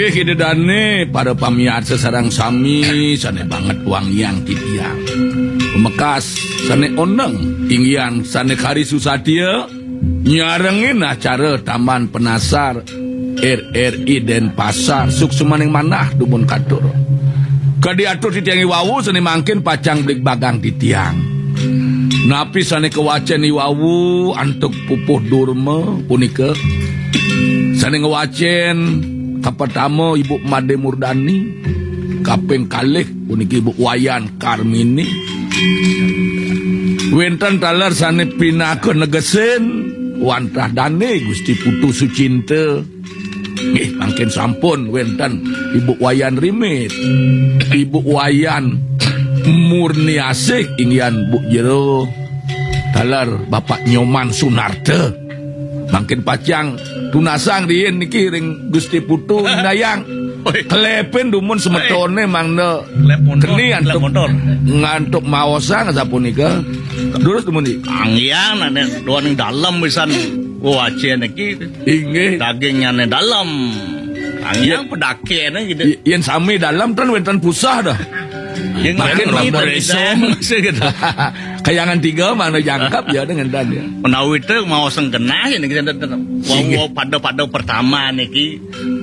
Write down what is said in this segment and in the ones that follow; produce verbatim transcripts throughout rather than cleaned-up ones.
Ida dane, para pamiarsa sareng sami sane banget wangiang titiang. Pamekas sane oneng, inggihan sane kari susatia, nyarengin acara Taman Penasar R R I Denpasar, suksmaning manah dumun katur. Kadi atur titiang iwau sane mangkin pacang bligbagang titiang. Napi sane kawacen iwau antuk pupuh Durma punika? Sane ngwacen kapertama Ibu Made Murdani, kaping kalih puniki Ibu Wayan Karmini. Wenten taler sane pinaka negesin wantah dane Gusti Putu Sucinta. Nggih, mangkin sampun wenten Ibu Wayan Rimit, Ibu Wayan Murniasih, inggihan Bu Jero, taler Bapak Nyoman Sunarta. Mangkin pacang tunasang riin niki ring Gusti Putu Indayang. Oi. Klepin dumun semetone mangda Klep montor, keni klep antuk montor. Ngantuk maosang sapunika. Durus dumun, Di. Anggiang ane duaning dalem pisan wacen niki. Inggih. Dagingnyane dalem. Anggiang pedakene gitu. Y-, yen sami dalem ten wenten pusah dah. Yen makin rambut rambut resong, maksud gitu. Kayangan tiga mangda jangkep ya dengan dan ya. Menawi te maosang genah ya niki, wau, wau pada-pada pertama niki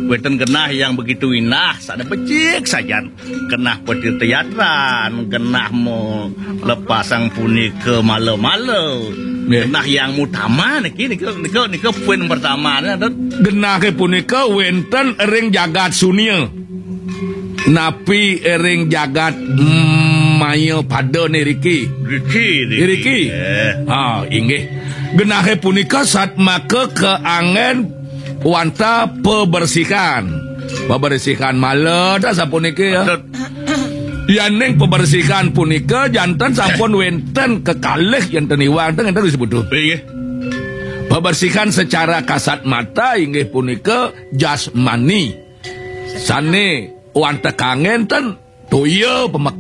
wenten genah yang begitu indah, sane becik sajan. Genah petirta yatran, genah mo lepasang punika mala-mala. Nggih. Genah yang utama niki, nika, nika, nika poin pertamane, Dut. Genahe punika wenten ring jagat sunia. Napi ring jagat, mm, maya pada niriki? Riki, riki. Iriki. Eh. Ha, inggih. Genahe punika satmaka kaangen wantah pebersihan. Pebersihan mala ta sapuniki ya. Patut. Yaning pebersihan punika janten sampun wenten kekalih yen ten iwang ten ngenten disebut. Inggih. Pebersihan secara kasat mata inggih punika jasmani. Sane wantah kangen ten toya pemeka